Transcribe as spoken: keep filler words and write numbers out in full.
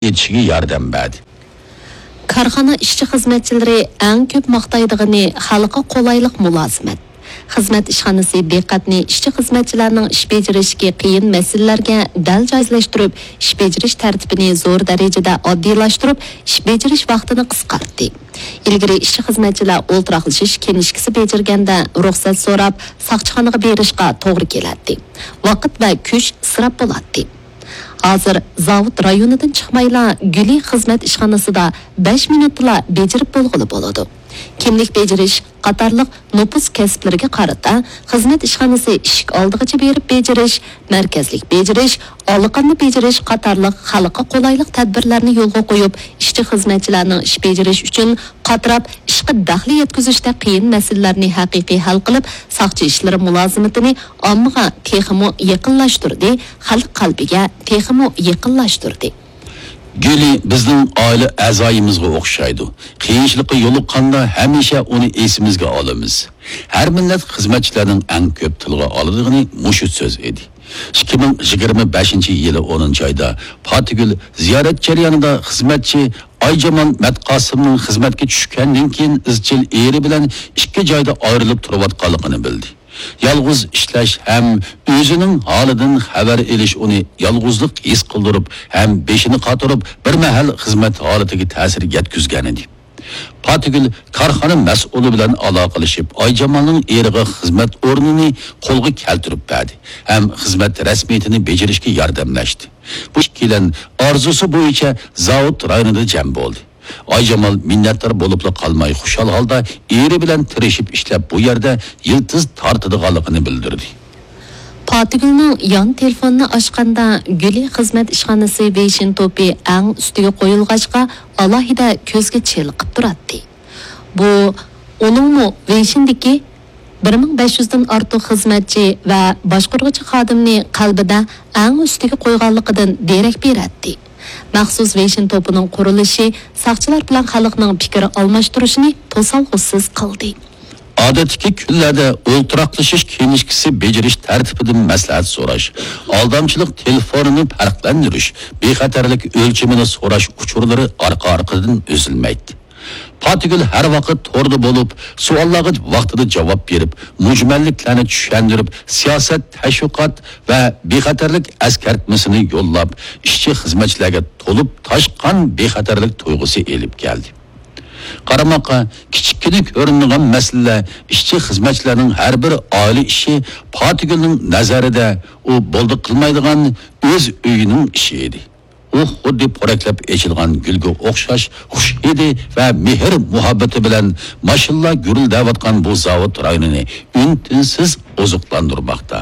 يېتىشىگە ياردەم بەردى. كارخانا ئىشچى-خىزمەتچىلىرى ئەڭ كۆپ ماختايدىغىنى خەلققە قولايلىق مۇلازىمەت. خىزمەت ئىشخانىسى دىققەتنى ئىشچى-خىزمەتچىلەرنىڭ ئىش بېجىرىشىگە قىيىن مەسىلىلەرگە دەل جايلاشتۇرۇپ، ئىش بېجىرىش تەرتىپىنى زور دەرىجىدە ئاددىيلاشتۇرۇپ، ئىش بېجىرىش ۋاقتىنى قىسقارتتى. ئىلگىرى ئىشچى-خىزمەتچىلەر ئولتۇراقلىشىش كىنىشكىسى بېجىرگەندە رۇخسەت سوراپ، ساقچىخانىغا بېرىشقا توغرا كېلەتتى. ۋاقىت ۋە كۈچ ئىسراپ بولاتتى. ھازىر زاۋۇت رايونىدىن چىقمايلا، گۈلى خىزمەت ئىشخانىسىدا بەش مىنۇتتىلا بېجىرىپ بولغىلى بولىدۇ. كىملىك بېجىرىش قاتارلىق نوپۇس كەسىپلىرىگە قارىتا، خىزمەت ئىشخانىسى ئىشىك ئالدىغىچە بېرىپ بېجىرىش، مەركەزلىك بېجىرىش، ئالىقاننى بېجىرىش قاتارلىق خەلققە قولايلىق تەدبىرلەرنى يولغا قويۇپ، ئىشچى-خىزمەتچىلەرنىڭ ئىش بېجىرىش ئۈچۈن قاتراپ، ئىشقا دەخلى يەتكۈزۈشتە قىيىن مەسىلىلەرنى ھەقىقىي ھەل قىلىپ، ساقچى ئىشلىرى مۇلازىمىتىنى ئاممىغا تېخىمۇ يېقىنلاشتۇردى، خەلق قەلبىگە تېخىمۇ يېقىنلاشتۇردى. گۈلى بىزنىڭ ئائىلە ئەزايىمىزغا ئوخشايدۇ. قىيىنچىلىققا يولۇققاندا ھەمىشە ئۇنى ئېسىمىزگە ئالىمىز. ھەر مىللەت خىزمەتچىلەرنىڭ ئەڭ كۆپ تىلغا ئالىدىغىنى مۇشۇ سۆز ئىدى. ئىككى مىڭ يىگىرمە بەشىنچى يىلى ئونىنچى ئايدا پاتىگۈل زىيارەت جەريانىدا خىزمەتچى ئايجامال مەتقاسىمنىڭ خىزمەتكە چۈشكەندىن كېيىن ئىزچىل ئېرى بىلەن ئىككى جايدا ئايرىلىپ تۇرۇۋاتقانلىقىنى بىلدى. يالغۇز ئىشلەش ھەم ئۆزىنىڭ ھالىدىن خەۋەر ئېلىش ئۇنى يالغۇزلۇق ھېس قىلدۇرۇپ ھەم بېشىنى قاتۇرۇپ، بىر مەھەل خىزمەت ھالىتىگە تەسىر يەتكۈزگەنىدى. پاتىگۈل كارخانا مەسئۇلى بىلەن ئالاقىلىشىپ، ئايجامالنىڭ ئېرىغا خىزمەت ئورنىنى قولغا كەلتۈرۈپ بەردى ھەم خىزمەت رەسمىيىتىنى بېجىرىشكە ياردەملەشتى. بۇ ئىككىيلەن ئارزۇسى بويىچە زاۋۇت رايونىدا جەم بولدى. ئايجامال مىننەتدار بولۇپلا قالماي، خۇشال ھالدا ئېرى بىلەن تىرىشىپ ئىشلەپ، بۇ يەردە يىلتىز تارتىدىغانلىقىنى بىلدۈردى. پاتىگۈلنىڭ يان تېلېفونىنى ئاچقاندا، گۈلى خىزمەت ئىشخانىسى ۋېيشىن توپى ئەڭ ئۈستىگە قويۇلغاچقا، ئالاھىدە كۆزگە چېلىقىپ تۇراتتى. بۇ ئۇنىڭمۇ ۋېيشىندىكى بىر مىڭ بەش يۈزدىن ئارتۇق خىزمەتچى ۋە باشقۇرغۇچى خادىمنى قەلبىدە ئەڭ ئۈستىگە قويغانلىقىدىن دېرەك بېرەتتى. مەخسۇس ۋېيشىن توپىنىڭ قۇرۇلۇشى ساقچىلار بىلەن خەلقنىڭ پىكىر ئالماشتۇرۇشىنى توسالغۇسىز قىلدى. ئادەتتىكى كۈنلەردە ئولتۇراقلىشىش كىنىشكىسى بېجىرىش تەرتىپىدىن مەسلىھەت سوراش، ئالدامچىلىق تېلېفونىنى پەرقلەندۈرۈش، بىخەتەرلىك ئۆلچىمىنى سوراش ئۇچۇرلىرى ئارقا-ئارقىدىن ئۈزۈلمەيتتى. پاتىگۈل ھەر ۋاقىت توردا بولۇپ، سوئاللارغا ۋاقتىدا جاۋاب بېرىپ، مۈجمەللىكلەرنى چۈشەندۈرۈپ، سىياسەت، تەشۋىقات ۋە بىخەتەرلىك ئەسكەرتمىسىنى يوللاپ، ئىشچى-خىزمەتچىلەرگە تولۇپ تاشقان بىخەتەرلىك تۇيغۇسى ئېلىپ كەلدى. قارىماققا كىچىككىنە كۆرۈنىدىغان مەسىلىلەر ئىشچى-خىزمەتچىلەرنىڭ ھەر بىر ئائىلە ئىشى پاتىگۈلنىڭ نەزەرىدە ئۇ بولدى قىلمايدىغان ئۆز ئۆيىنىڭ ئىشى ئىدى. ئۇ خۇددى پورەكلەپ ئېچىلغان گۈلگە ئوخشاش خۇش ھىدى ۋە مېھىر-مۇھەببىتى بىلەن ماشىنىلار گۈرۈلدەۋاتقان بۇ زاۋۇت رايونىنى ئۈن-تىنسىز ئوزۇقلاندۇرماقتا.